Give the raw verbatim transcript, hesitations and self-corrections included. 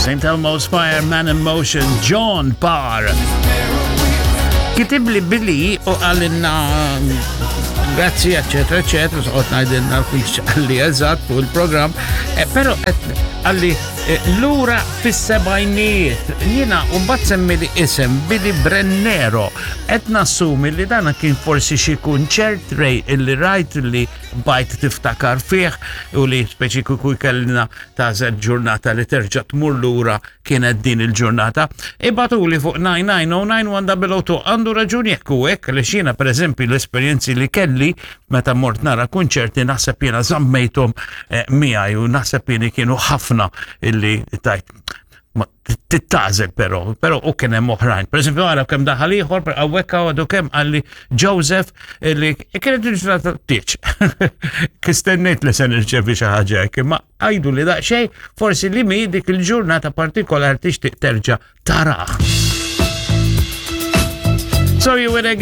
Saint Elmo's Fire, Man in Motion, John Parr. Kitibli Billy u qalilna grazzi, eccetera, eccetera, soqgħod ngħidilna fiex qalli eżatt fuq il-programm, eh, però qalli eh, lura fis-sebgħinijiet. Jiena mbagħad semmi li isem Billy Brennero. Qed nassumi li dana kien forsi xi kunċert rej illi rajt li bajt tiftakar fih u li speċi kieku kellna ta' ġurnata li terġa' tmur lura kienet din il-ġurnata. Ibagħtuli fuq nine nine zero nine one zero zero two. Għandu raġun jekk u hekk li xina, per eżempju, l-esperjenzi li kelli meta mort nara kunċerti, naħseb jiena żammejthom eh, miegħi u naħseb jiena kienu ħafna illi tajt tittażel, però, però u kien hemm oħrajn. Per eżempju, għara kemm daħal ieħor, per hawnhekk għadu kemm qalli Joseph li kienet il-ġurnata tieċ. Kistennejt li se nirċevi xi ħaġa hekk, imma għajdu li daqsxejn forsi li mi dik il-ġurnata partikolari tixtieq terġa' taraħ. So you would